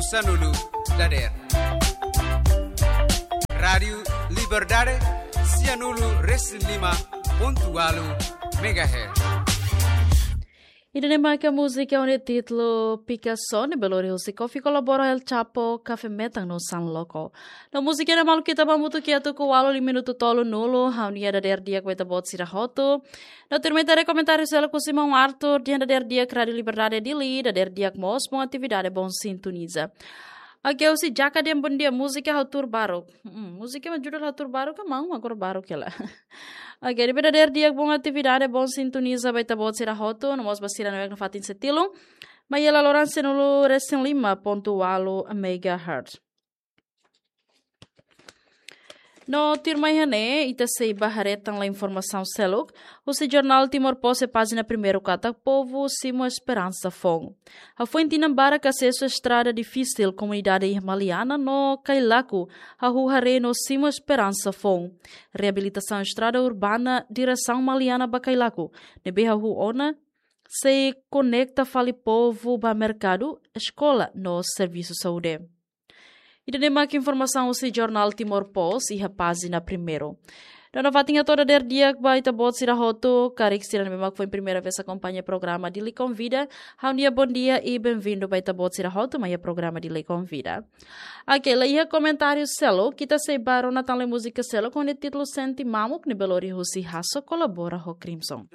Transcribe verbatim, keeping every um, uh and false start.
Sanulu dader. Rádiu Liberdade, sianulu resin lima pontu ualu megahertz. Ida-ne'e mak múzika ho títulu Picasso ne'ebé lori husi Kofi Kolabora, El Chapo, Café Metan no San Loco. No múzika ne'e maluk ita ba hamutuk iha tuku ualu liu minutu tolunulu, ha'u-nia dadeer di'ak ba ita-boot sira hotu. No tuirmai ita haree komentáriu seluk husi maun Arthur, dehan dadeer di'ak Rádiu Liberdade Dili, dadeer di'ak mós, bom atividade, bom sintoniza. Oke, husi Jaka dehan bondia, múzika ha'u tuur baruk. Hmm, múzika mak judul ha'u tuur baruk, ka maun agora baruk hela. Oke, ne'ebé dadeer di'ak, bom atividade, bom sintoniza ba ita-boot sira hotu, no mós ba sira ne'ebé iha fatin seluk. Mai iha laloran sianulu resin lima pontu ualu megahertz. No tuirmai iha ne'e, ita sei ba haree tan informasaun seluk husi jornál Timor Post iha pájina primeiru katak povu simu esperansa foun. Hafoin tinan barak asesu estrada difisil, komunidade iha Maliana no Cailaco hahú haree no simu esperansa foun. Reabilitasaun estrada urbana diresaun Maliana ba Cailaco ne'ebé hahú ona sei konekta fali povu ba merkadu, eskola no servisu saúde. Ida-ne'e mak informasaun husi jornál Timor Post iha pájina primeiru. No nafatin hato'o dadeer di'ak ba ita-boot sira hotu, karik sira ne'ebé mak foin primeira vez akompaña programa Dili Konvida, ha'u-nia bondia i bem-vindo ba ita-boot sira hotu mai iha programa Dili Konvida. Oke, laiha komentáriu seluk, ita sei ba rona tan lai múzika seluk ho títulu Sente Mamuk ne'ebé lori husi Hasso Kolabora ho Crimson.